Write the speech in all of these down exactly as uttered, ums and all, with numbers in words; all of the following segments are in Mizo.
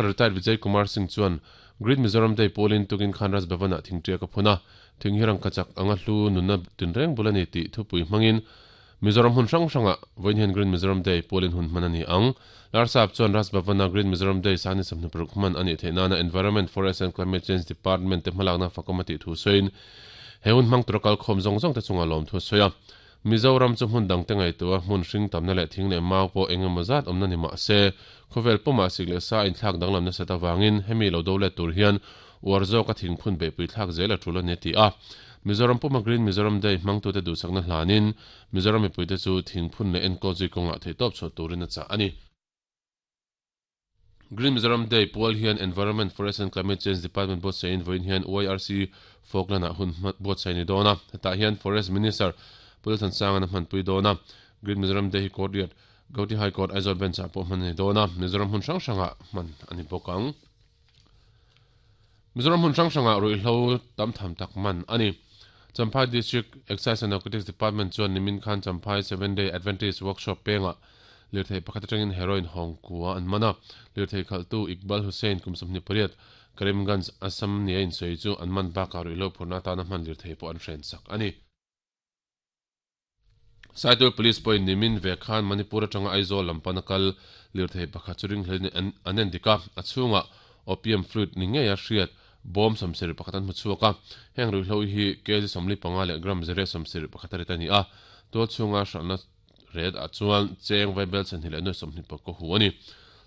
Retired Vijay Kumar Singh chuan Green Mizoram Day pualin tukin khan Raj Bhavan-ah thingṭiak a phun a, thing hi rangkachak anga hlu nunna tinreng bul a ni tih thupui hmangin Mizoram hun hrang hrangah vawiin hian Green Mizoram Day pualin hun hman a ni ang. Larsap chuan Raj Bhavan-a Green Mizoram Day sani sawmhnih paruk hman a nih theih nana Environment, Forest and Climate Change Department te hmalakna fakawm a tih thu sawiin he hun hmang tura kalkhawm zawng zawng te chungah lawmthu a sawi a. Mizoram chu hmun dangte ngaihtuah hmun hring tamna leh thing leh mau pawh eng emaw zat awmna ni mah se, khawvel pumah sik leh sa inthlak danglam nasat avangin hemi lo do let tur hian uar zawka thingphun beihpui thlak zel a tul a ni a ti a. Mizoram puma Green Mizoram Day hmangtute duhsakna hlanin Mizoram mipuite chu thingphun leh enkawl zui kawngah theihtawp chhuah turin a chah a ni. Green Mizoram Day pual hian Environment, Forest and Climate Change Department buatsaih in vawiin hian Y R C Falkland-ah hun buatsaih a ni dawn a, hetah hian Forest Minister Pu Lalthansanga a hmanpui dawn a. Green Mizoram Day hi Court riat Gauhati High Court Aizawl Bench-ah pawh hman a ni dawn a, Mizoram hmun hrang hrangah hman a ni bawk ang. Mizoram hmun hrang hrangah ruihhlo tam tham tak man a ni. Champhai District Excise and Narcotics Department chuan nimin khan Champhai Seven Day Adventist Workshop pengah lirthei pakhat atangin heroin hawng kua an man a. Lirthei khalhtu Iqbal Hussain kum sawmhnih pariat, Karimganj, Assam nia insawi chu an man bakah ruihhlo phurna atana hman lirthei pawh an hrensak a ni. Saitul Police pawhin nimin ve khan Manipur atanga Aizawl lam pana kal lirthei pakhat chu ringhlelin an en dik a, a chhungah opium fluid ni ngeia hriat bawm sawmsarih pakhat an hmu chhuak a. Heng ruihhlo hi kg sawmli panga leh gram zere sawmsarih pakhat a rit a ni a, tual chhunga hralhna ret ah chuan cheng vaibel chhani leh nuai sawmhnih pakua hu a ni.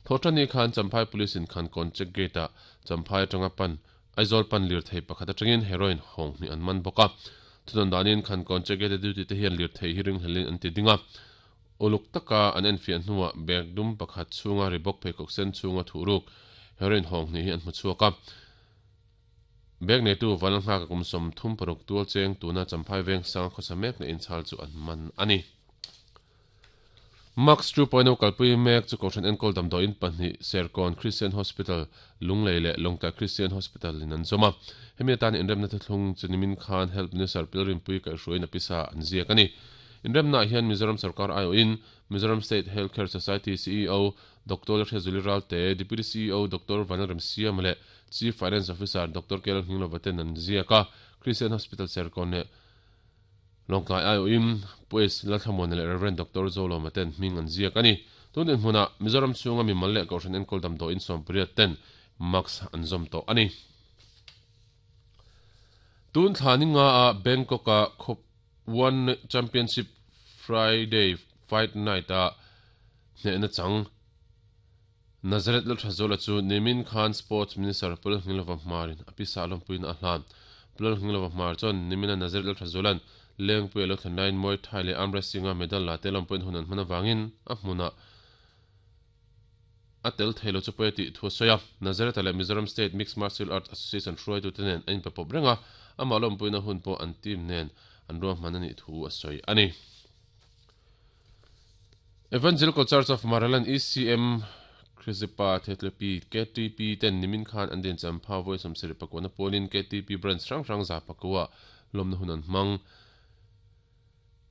Thawhṭani khan Champhai Police in Khankawn check gate ah Champhai atanga pan Aizawl pan lirthei pakhat atangin heroin hawng hnih an man bawk a. Thunawn danin Khankawn check gate a duty te hian lirthei hi ringhlelin an ti ding a. Uluk taka an enfiah hnuah bag dum pakhat chhunga Reebok pheikhawk sen chhunga thuhruk heroin hawng hnih hi an hmu chhuak a. Bag neitu Vanlalnghaka kum sawmthum paruk tual cheng tuna Champhai veng sang khawsa mek na inchhal chu an man a ni. Max two point o kalpui mek chu Kohhran enkawl damdawiin pahnih Serkawn Christian Hospital, Lunglei leh Lawngtlai Christian Hospital in an zawm a. Hemi atan inremna thuthlung chu nimin khan Health Minister Pilrinpui kaihhruaiin a pisa an ziak a ni. Inremnaah hian Mizoram sorkar aiawhin Mizoram State Health Care Society C E O Doctor Lalhriazuli Ralte, Deputy C E O Doctor Vanlalremsiama leh Chief Finance Officer Doctor K L Nghinglova ten an ziak a. Christian Hospital Serkawn leh Lawngtlai aiawhin Pu S Lalthlamuana leh Rev Doctor Zolawma ten hming an ziak a ni. Tun dinhmunah Mizoram chhunga mimal leh Kohhran enkawl damdawiin sawmpariat ten mask an zawm tawh a ni. Tun thla ni nga a Bangkok-a khawp One Championship Friday Fight Night-a hnehna chang Nazareth Lalthazuala chu nimin khan Sports Minister Pu Lalnghinglova Hmarin a pisa lawmpuiin a hlan. Pu Lalnghinglova Hmar chuan nimina Nazareth Lalthazuala'n Lengpui a lo thlen laiin Muay Thai leh Arm Wrestling-a medal la te lawmpuiin hun an hman avangin a hmunah a tel thei lo chu pawi a tih thu a sawi a. Nazareth-a leh Mizoram State Mixed Martial Arts Association hruaitute nen an inpe pawp reng a, amah lawmpuina hun pawh an team nen an ruahman a nih thu a sawi a ni. Evangelical Church of Maraland, E C M, Khrizipa Thetlepi, K T P ten nimin khan an din champha vawi sawmsarih pakuana pualin K T P branch hrang hrang za pakua lawmna hun an hmang.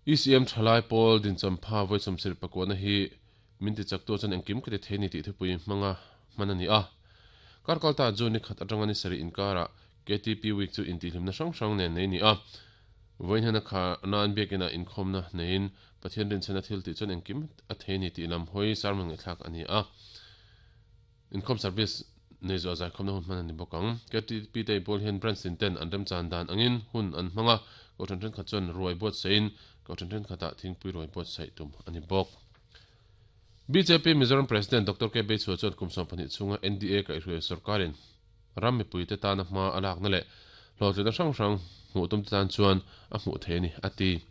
E C M thalai pawl din champha vawi sawmsarih pakuana hi min ti chaktu chuan engkim ka ti thei ni tih thupui hmanga hman a ni a. Karkalta June ni khat atanga ni sarih inkarah K T P Week chu intihhlimna hrang hrang nen nei ni a. Vawiin hian a kha nan biakina inkhawmna neiin Pathian rinchhena thil tih chuan engkim a thei ni tih lam hawi sermon ngaihthlak a ni a. Inkhawm service nei zawh zaikhawmna hun hman a ni bawk ang. K T P te pawl hian branch tin ten an remchan dan angin hun an hmang a, kohhran thenkhat chuan ruai buatsaih in kohhran thenkhatah thingpui ruai buatsaih tum a ni bawk. B J P Mizoram President Doctor K Beichhua chuan kum sawm pahnih chhunga N D A kaihhruai sorkarin ram mipuite tana hma a lakna leh hlawhtlinna hrang hrang hmuh tum te tan chuan a hmuh thei a ni a ti.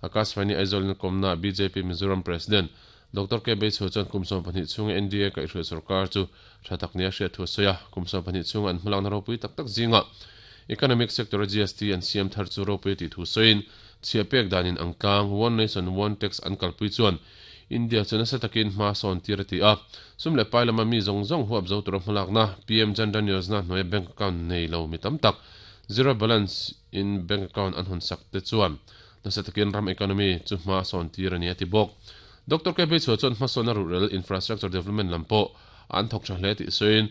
Akashvani Aizawl in kawmna B J P Mizoram President Doctor K Beichhua chuan kum sawm pahnih chhunga N D A kaihhruai sorkar chu tha tak nia hriat thu a sawi a. Kum sawm pahnih chhunga an hmalakna ropui tak tak zinga economic sector a G S T an siam thar chu ropui tih thu sawiin chhiah pek danin ang tlang One Nation One Tax an kalpui chuan India chu nasa takin hma sawn tir a ti a. Sum leh pai lama mi zawng zawng huap zo tura hmalakna P M Jan Dhan Yojana hnuaia bank account nei lo mi tam tak zero balance in bank account an hawn sak te chuan nasa takin ram economy chu hma sawn tir a ni a ti bawk. Doctor K Beichhua chuan hmasawn a ruhrel infrastructure development lam pawh an thawk tha hle tih sawiin.